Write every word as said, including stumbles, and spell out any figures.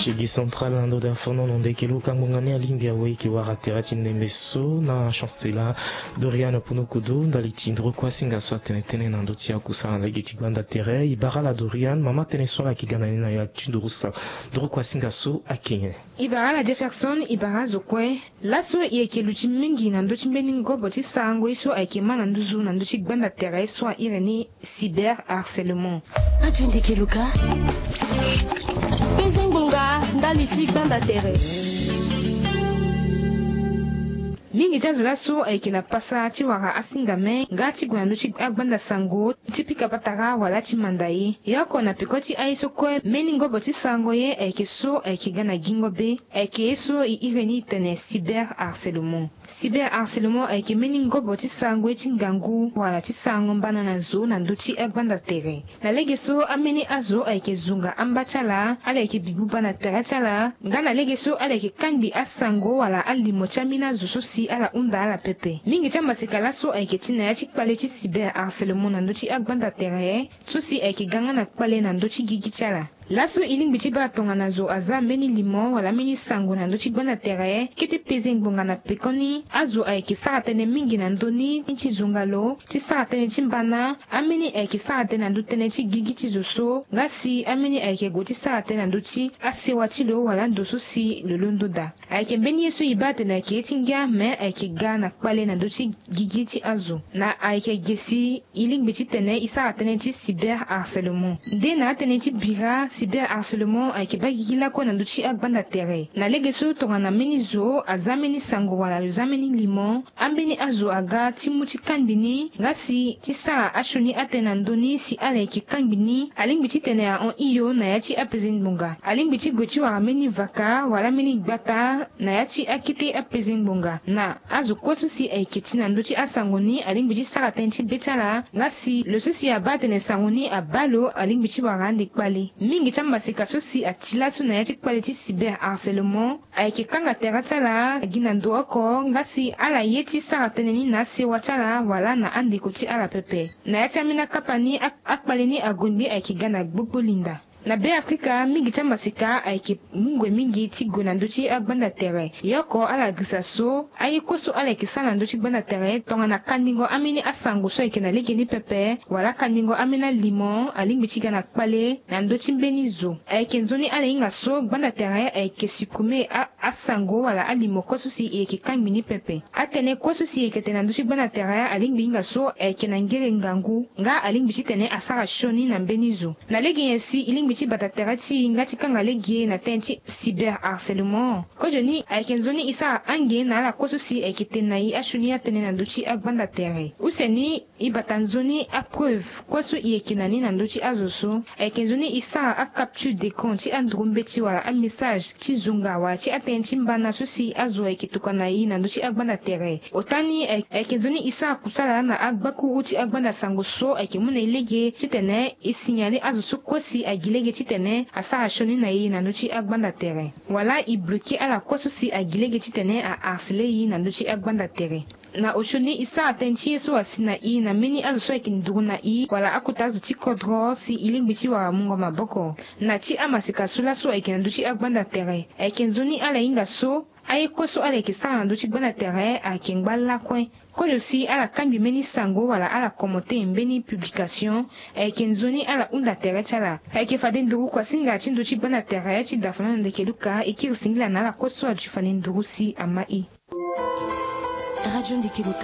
Ti gi central na ndo da fono na ndeke luka ngbonga ni alingbi awe eke wara tere ti ndembe so na chancela Dorian Punukudu ndali ti nduru kue asinga so atene tënë na ndö ti akusala na lege ti gbanda tere. E bara ala Dorian mama tënë so ala yeke ga na ni na ya ti nduru sa nduru kue asinga so ayeke nyen? E bara ala Jefferson, e bara azo kue. Laso e yeke luti mingi na ndö ti mbeni ngobo ti sarango ye so ayeke ma na nduzu na ndö ti gbanda tere so a iri ni cyber harcèlement. Aju ndeke luka. Peze ngbonga ndali ti gbanda tere. Mingi ti azo laso ayeke na pasa ti wara asingame nga ti gue na ndö ti agbanda sango ti pika patara wala ti manda ye. Ye oko na peko ti aye so kue mbeni ngobo ti sarango ye ayeke so ayeke ga na gingo be. Ayeke ye so e iri ni e tene cyber harcèlement. Cyber harcèlement ayeke mbeni ngobo ti sarango ye ti ngangu wala ti sarango mbana na zo na ndö ti agbanda tere. Na lege so ambeni azo ayeke zonga amba ti ala, ala yeke bi buba na tere ti ala, nga na lege so ala yeke kangbi asango wala alimo ti ambeni azo so si ala hunda ala pepe. Mingi ti amaseka laso ayeke ti na ya ti kpale ti cyber harcèlement na ndö ti agbanda tere so si ayeke ga nga na kpale na ndö ti gigi ti ala. Laso e lingbi ti baa tongana zo aza mbeni limo wala mbeni sango na ndö ti gbanda tere, kete peze ngbonga na pekoni azo ayeke sara tënë mingi na ndö ni ti zonga lo ti sara tënë ti mbana. Ambeni ayeke sara tënë na ndö tënë ti gigi ti zo so nga si ambeni ayeke gue ti sara tënë na ndö ti asewa ti lo wala ndo so si lo londo daa. Ayeke mbeni ye so e baa atene ayeke ye ti ngia me ayeke ga na kpale na ndö ti gigi ti azo. Na ayeke ge si e lingbi titene e sara tënë ti cyber harcèlement. Nde na atënë ti bira cyber harcèlement ayeke baa gigi lakue na ndö ti agbanda tere. Na lege so tongana mbeni zo aza mbeni sango wala lo za mbeni limo, ambeni azo aga ti mu ti kangbi ni nga si ti sara asioni atënë na ndö ni si ala yeke kangbi ni, alingbi titene ahon hio na ya ti apeze ngbonga. Alingbi ti gue ti wara mbeni vaka wala mbeni gbata na ya ti akete apeze ngbonga. Na azo kue so si ayeke ti na ndö ti asango ni alingbi ti sara tënë ti be ti ala nga si lo so si abaa atene sango ni abaa lo alingbi ti wara ande kpale. Mingi ti amaseka so si ati laso na ya ti kpale ti cyber harcèlement ayeke kanga tere ti ala gi na ndo oko nga si ala ye ti sara tënë ni na asewa ti ala wala na andeko ti ala pepe. Na ya ti ambeni akapa ni, ak- akpale ni ague ngbe ayeke ga na gbogbo linda. Na Beafrika mingi ti amaseka ayeke mu ngoi mingi ti gue na ndö ti agbanda tere. Ye oko ala girisa so aye kue so ala yeke sara na ndö ti gbanda tere tongana kandingo ambeni asango so ayeke na legeni pepe wala kandingo ambeni alimo alingbi ti ga na kpale na ndö ti mbeni zo. Ayeke nzoni ala hinga so gbanda tere ayeke supprimer a- asango wala alimo kue so si e yeke kangbi ni pepe. Atënë kue so si e yeke tene na ndö ti gbanda tere alingbi hinga so ayeke na ngere ngangu nga alingbi titene asara sioni na mbeni zo. Na lege nyen si e lingbi ti bata tere ti e nga ti kanga lege na tënë ti cyber harcèlement? Kozo ni ayeke nzoni e sara ange na ala kue so si ayeke tene na e asioni atënë na ndö ti agbanda tere. Use ni e bata nzoni apreuve kue so e yeke na ni na ndö ti azo so. Ayeke nzoni e sara acapture d'écran ti anduru mbeti wala amessage ti zonga wala ti atënë ti mbana so si azo ayeke tokua na e na ndö ti agbanda tere. Ota ni ay- ayeke nzoni e sara kusala na agbakuru ti agbanda sango so ayeke mu na e lege titene e signale azo so kue si agi lege titene asara sioni na e na ndö ti agbanda tere. Wala e bloquer ala kue so si agi lege titene a harceler e na ndö ti agbanda tere. Na osio ni e sara tënë ti ye so asi na e na mbeni azo so ayeke nduru na e wala akota azo ti kodro si e lingbi ti wara mungo maboko. Na ti amaseka so laso ayeke na ndö ti agbanda tere ayeke nzoni ala hinga so aye kue so ala yeke sara na ndö ti gbanda tere ayeke ngba lakue. Kozo si ala kangbi mbeni sango wala ala commenter mbeni publication, ayeke nzoni ala hunda tere ti ala. Ayeke fade nduru kuasinga ti ndö ti gbanda tere ti dafana na ndeke luka e kiri singila na ala kue so aju fade nduru si ama e. Radio Ndeke Luka.